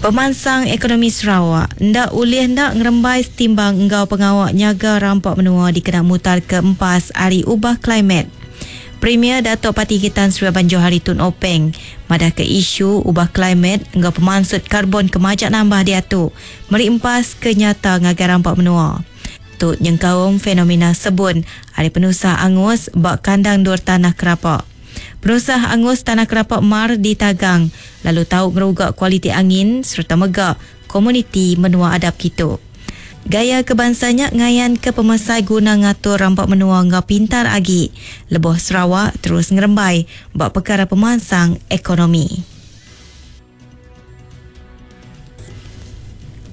Pemansang ekonomi Sarawak enda ulih enda ngerembai setimbang enggau pengawa nyaga rampa menua dikena mutarka empas ari ubah klimet. Premier Datuk Patinggi Tan Sri Abang Johari Tun Openg madahka isu ubah klimet enggau pemansut karbon ke majak nambah diatu meri empas ke nyata ngagai rampa menua. Tu nyengkaum fenomena sebun ari penusah angus ba kandang endur tanah kerapa. Penusah angus tanah kerapa mar ditagang lalu tau ngeruga kualiti angin sereta mega komuniti menua adap kitu. Gaya ke bansa nya ngayanka pemesai guna ngatur rampa menua enggau pintar agi lebuh Sarawak terus ngerembai ba pekara pemansang ekonomi.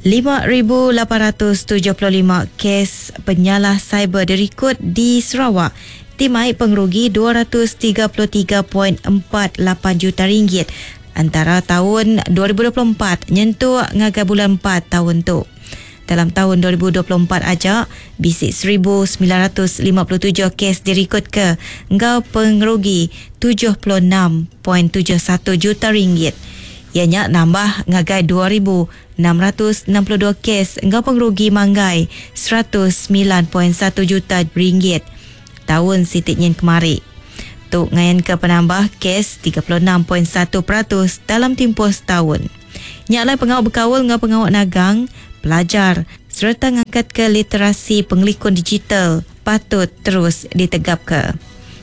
5875 kes penyalah siber dirikod di Sarawak ti mai pengerugi 233.48 juta ringgit antara taun 2024 nyentuk ngagai bulan empat taun tu. Dalam taun 2024 aja, bisi 1957 kes dirikodka enggau pengerugi 76.71 juta ringgit, iya nya nambah ngagai 2662 kes enggau pengerugi manggai 109.1 juta ringgit taun siti nyin kemari. Tu ngayanka penambah kes 36.1% dalam timpuh setaun. Nya alai pengawa bekaul enggau pengawa nagang, pelajar sereta ngangkatka literasi pengelikun digital patut terus ditegapka.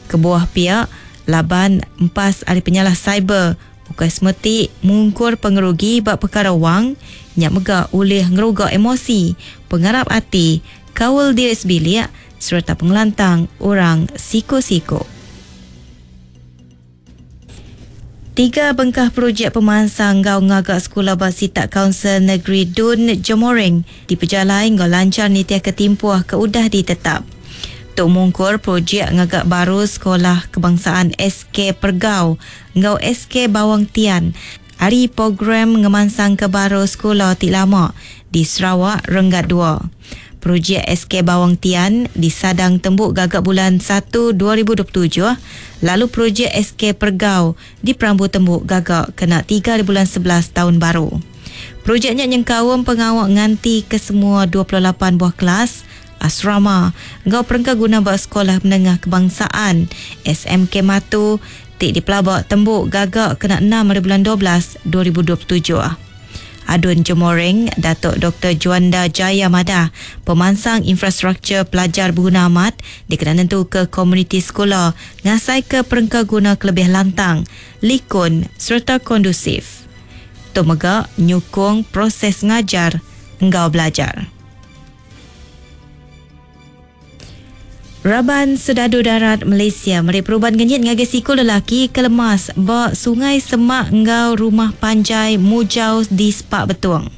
Kebuah pia, laban empas ari penyalah siber ukai semeti mungkur pengerugi ba pekara wang, nya mega ulih ngeruga emosi, pengarap ati, kaul diri sebilik sereta pengelantang orang siku-siku. Tiga bengkah projek pemansang enggau ngaga sekula ba sitak Kaunsil Negeri Dun Jemoreng dipejalai enggau lanchar nitihka timpuh ke udah ditetap. Tu mungkur projek ngaga baru Sekolah Kebangsaan SK Pergau enggau SK Bawang Tian ari Program Ngemansangka Baru Sekula ti lama di Sarawak Renggat dua. Projek SK Bawang Tian disadang tembu gaga bulan satu 2027 lalu projek SK Pergau diperambu tembu gaga kena tiga bulan 11 taun baru. Projek nya nyengkaum pengawa nganti kesemua 28 buah kelas, asrama enggau perengka guna ba Sekolah Menengah Kebangsaan, SMK Matu, ti dipelaba tembu gaga kena enam ari bulan 12 2027. Adun Jemoreng, Datuk Doktor Juanda Jaya madah, pemansang infrastruktur pelajar beguna amat dikena nentuka komuniti sekula ngasaika perengka guna ke lebih lantang, likun sereta kondusif. Tu mega nyukung proses ngajar enggau belajar. Raban Sedadu Darat Malaysia meri perubat ngenyit ngagai siku lelaki ke lemas ba Sungai Semak enggau Rumah Panjai Mujau di Spak Betong.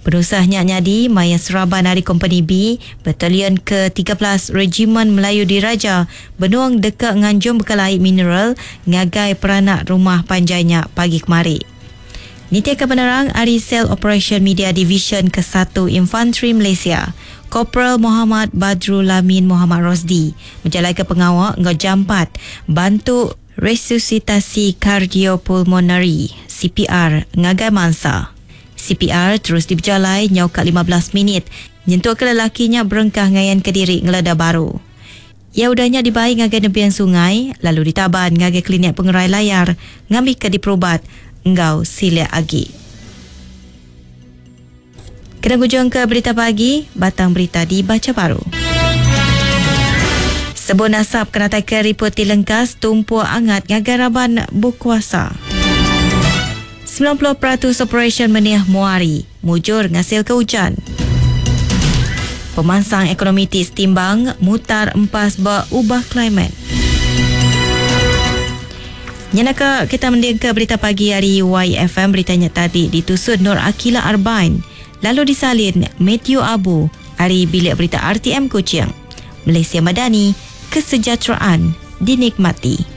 Penusah nya nyadi maya seraban ari Kompeni B, Batalion ke 13 Rejimen Melayu Diraja benung deka nganjung bekal ai mineral ngagai peranak rumah panjai nya pagi kemari. Nitihka penerang ari Sel Operasyen Media Divisyen Kesatu Infantri Malaysia, Koperal Mohamad Badrul Lamin Mohamad Rosdi bejalaika pengawa enggau jampat bantu resusitasi kardiopulmonari, CPR, ngagai mansa. CPR terus dipejalai nyau ka 15 minit nyentukka lelaki nya berengkah ngayanka diri ngeleda baru. Iya udah nya dibai ngagai nebing sungai lalu ditaban ngagai Klinik Pengerai Layar ngambika diperubat enggau silik agi. Kena ngujungka berita pagi, batang berita dibacha baru. Sebun asap kenataika riput ti lengkas tumpuk angat ngagai raban bekuasa. 90% operasyen menih Muari mujur ngasilka ujan. Pemansang ekonomi ti setimbang mutar empas ba ubah klimet. Nyenaka kita mendingka berita pagi ari YFM berita nya tadi ditusun Nur Akila Arbain lalu disalin Matthew Abu ari Bilik Berita RTM Kuching. Malaysia Madani, kesejahteraan dinikmati.